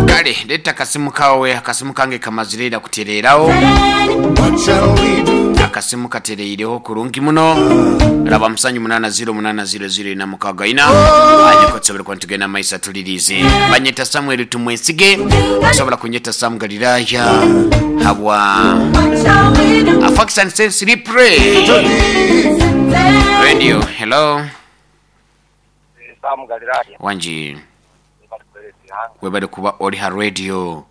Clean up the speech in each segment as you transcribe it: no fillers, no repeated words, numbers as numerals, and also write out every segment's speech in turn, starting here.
Kale leeta akasimu kawe, akasimu kange kamazire ira kutereeraho. Akasimu katereireho kurungi muno. Raba musanju munana ziro munana ziro ziro ina mukaga ina. Anyiko tusobole kuba nitugenda maiso atulirize. Banyeta Samuel Tumwesige. Osobola kunyeta Sam Galilaya habwa Facts and Sense Replay Radio. Hello. Sam Galilaya. Wangi. Webale kuba oli ha radio.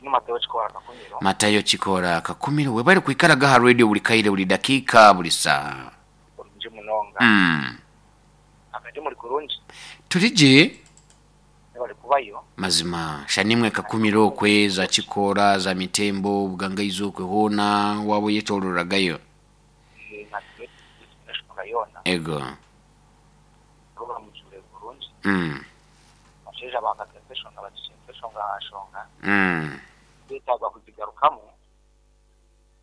Ni Matayo Kikoora Kakumiro. Matayo Kikoora Kakumiro webale kwikaraga aha radio buli kaire buli dakiika buli saaha. Kurungi munonga. Akadi muri kurungi? Turi gye. Mwebale kubayo. Mazima sha nimwe Kakumiro okwe za Kikoora za Mitembo Bugangaizi okwe hoona waaba oyetoororagayo. Natwe eshonga yoona. Ego. Puroguramu ejwire kurungi. Abashaija baakateesa eshonga bagikyentsa eshonga aha nshonga. Beetaaga kugigarukamu.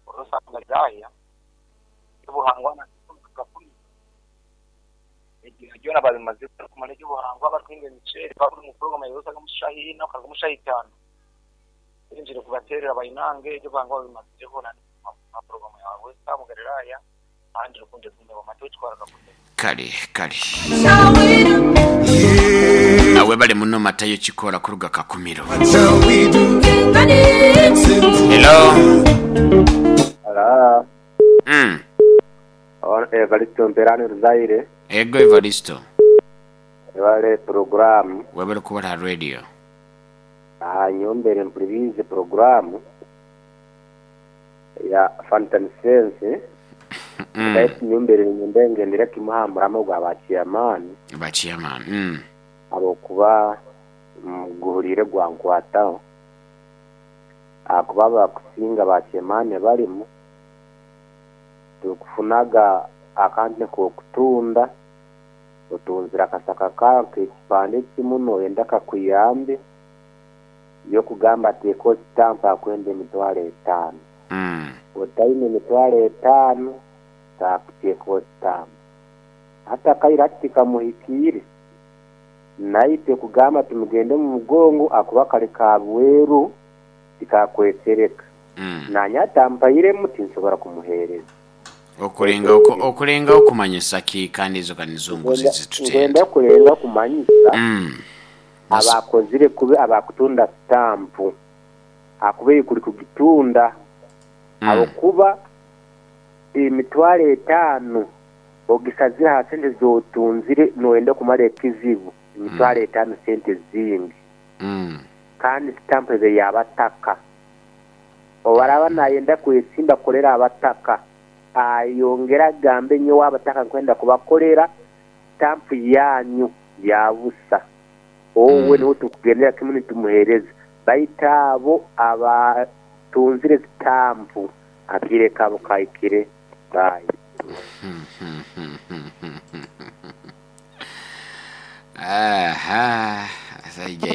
Orosa Galilaya eby'obuhangwa na Kakumi. Ebyo byona babimazire barikumara eby'obuhangwa barikuhinga emiceeri bari omu puroguramu ya Rosa omu shaaha ina okaruga omu shaaha itaano. Oyenzire kubateerera bainange eby'obuhangwa babimazireho na puroguramu ya West Ham Galilaya ahandi rukundo egume Mateo Kitwara Kakumi. Kale kale. Webale muno Matayo Kikoora kuruga Kakumiro. Hello. Hello. Evaristo Mperani Ruzaire. Ego Evaristo. Webale puroguramu. Webale kuba aha radio. Nyowe mbaire mpuririize puroguramu ya Fantan Sense. Baitu nyowe mbaire niinyenda ngyendere kimwe aha murama gwa ba ceyamaani. Ba ceyamaani. Ahabw'okuba guhuriire gwankwataho. Ahakuba abakusinga ba ceyamaani abarimu, tikufunaga akantu k'okutunda, otunzire akasaka kaawe nk'ekipande kimwe nooyenda kakuyambe, y'okugamba teeka ositampe akwenda emitwaro etaano. Otaine emitwaro etaano, taakuteeka ositampe. Hati akaire hati tikamuhikiire, naitwe kugamba tumugende omu mugongo ahakuba kari ka bweru tikakwesereka. Naanye atampairemu tinsobora kumuheereza. Okurengaho kumanyisa ki kandi ezo ka nizo nguzi ezitutenda. Ngwenda kurenga kumanyisa abakozire kubi abakutunda sitampu ahakuba ei kuri kugitunda ahabw'okuba emitwaro etaano ogisazire aha sente z'otunzire noyenda kumara ekizibu emitwaro etaano sente zingi kandi sitampu ebe y'abataka. Obu araaba nayenda kwesimba kukorera abataka ayongere agambe nyowe abataka nkwenda kubakorera sitampu yanyu ya busa. Owe niwe turikugendera kimwe nitumuheereza. Baitu abo abatunzire sitampu akaire kaabo kahikire. Bye. Aha, asaija.